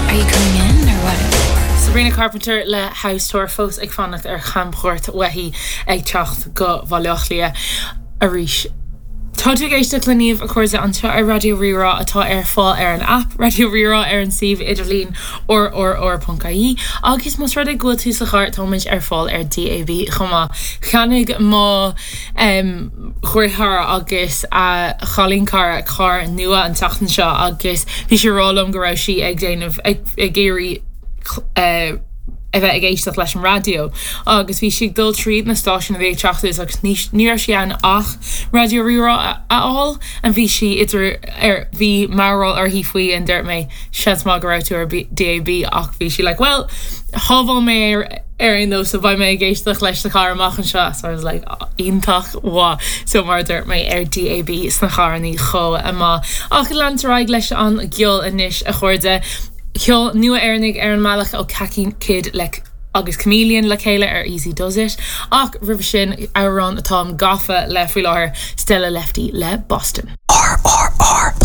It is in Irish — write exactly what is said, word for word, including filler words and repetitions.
Are you coming in or what? Sabrina Carpenter le House Tour fós ag fanacht ar chamchuairt uaithi ag teacht go Baile Átha Cliath arís. Tá tú ag éisteacht le Niamh a chairde anseo ar Raidió Rí-Rá atá ar fáil ar an app Raidió Rí-Rá ar an suíomh idirlín rrr.ie agus más rud é go bhfuil tú sa charr táimid ar fáil ar DAB chomh maith. Cheannaigh mo um, dheartháir agus a chailín cara carr nua an tseachtain seo agus bhí sí ag rá liom go raibh sí ag déanamh ag ag iarraidh uh, a bheith ag éisteacht leis an raidió agus bhí sí ag dul tríd na stáisiúin a bhí ag teacht agus ní ní raibh sí in ann ach Raidió Rí-Rá a fháil an bhí sí idir ar bhí mearbhall uirthi faoi an dúirt mé seans maith go raibh tú ar DAB ach bhí sí like well shábháil mé ar ar aon nós so beidh mé ag éisteacht leis sa charr amach anseo so I was like iontach mhaith so mar dúirt mé ar DAB sna carranna chomh maith ach leantar ar aghaidh leis an gceol anois a chairde Ceol nua Éireannach ar an mbealach ó Kaki Kid le agus Chameleon le chéile ar Easy Does It ach roimhe sin amhrán atá gafa le faoi láthair Stella Lefty le Boston. R R R